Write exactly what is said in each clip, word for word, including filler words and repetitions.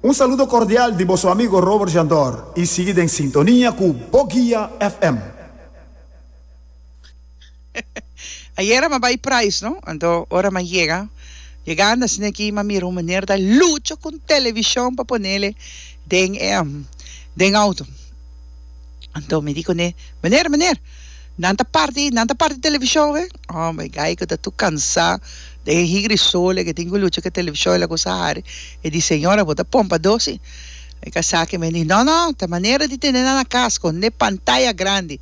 Un saludo cordial di boso amigo Robert Jandor y sigui den sintonia cu Bo Guia F M. Ayera m'a bai Price, no? Anto ora m'a yega, yegando asina aki m'a mira un meneer ta lucha cu un television pa ponele den e den auto. Anto mi di cune, "Meneer, meneer, nan ta parti, nan ta parti television we?" Oh my guy cu ta tur cansa den e higri sole cu tin cu lucha cu e television el a cusa hari. E di, "Señora, bo ta pompa dosi." E casa que mi di, "No, no, ta manera di tene nan na cas con e pantaya grandi."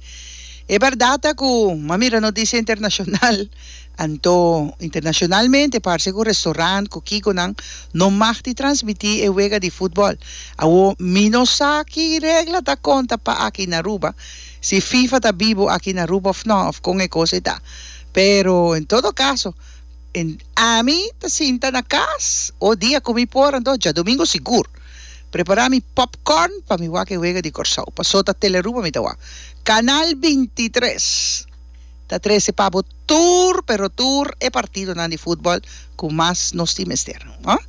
E berdad ta cu m'a mira noticia internacional, anto internacionalmente parce cu restaurant cu kiconan no mag di transmiti e wega di futbol. Awo mi no sa ki regla ta conta pa aki na Aruba, si FIFA ta bibo aki na Aruba of no, of con e cos ta. Pero en todo caso, en, ami ta sinta na cas, o dia cu mi por, anto diadomingo sigur. Prepara mi popcorn pa mi wak e wega di Corsou. Paso ta Telearuba mi ta wak. Canal bintitres. Ta trece pa bo tur, pero tur e partidonan di futbol cu mas nos tin mester. No?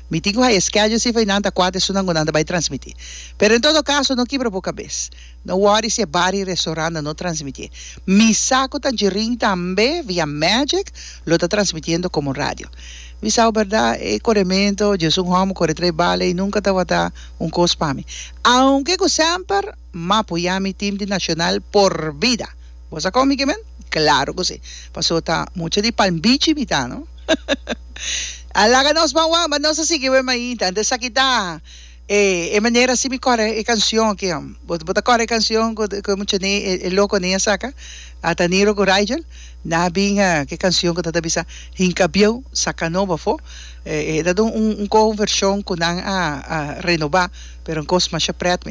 Mi tin cu schedule si fai nan ta cuatro esunnan cu nan ta bay transmiti. Pero en todo caso, no kibra bo cabes. No worry si bar y restaurant no transmiti. Mi sa cu Tangerine tambe via Magic lo ta transmitiendo como radio. Mi sa berdad, e coremento, yo un homo core tres bala y nunca tabata un cos pa mi. Aunke cu semper m'a apoya mi team di Nacional por vida. Bo sa con mi kiermen? Claro cu si. Paso ta mucho di Palm Beach mi ta, no? Alaga nos ban wak, nos a sigui we mainta. Antes aki ta eh, e manera si mi core e cancion aki. Bo bo ta core e cancion cu cu mucho ne e, e loco ne saca. Ata Niro cu Rigel. Na bin cu cancion cu ta bisa "Hinca bieu saca nobo afo". Eh, eh, dado un un, un version cu nan a, a renoba, pero un cos mas pret mes.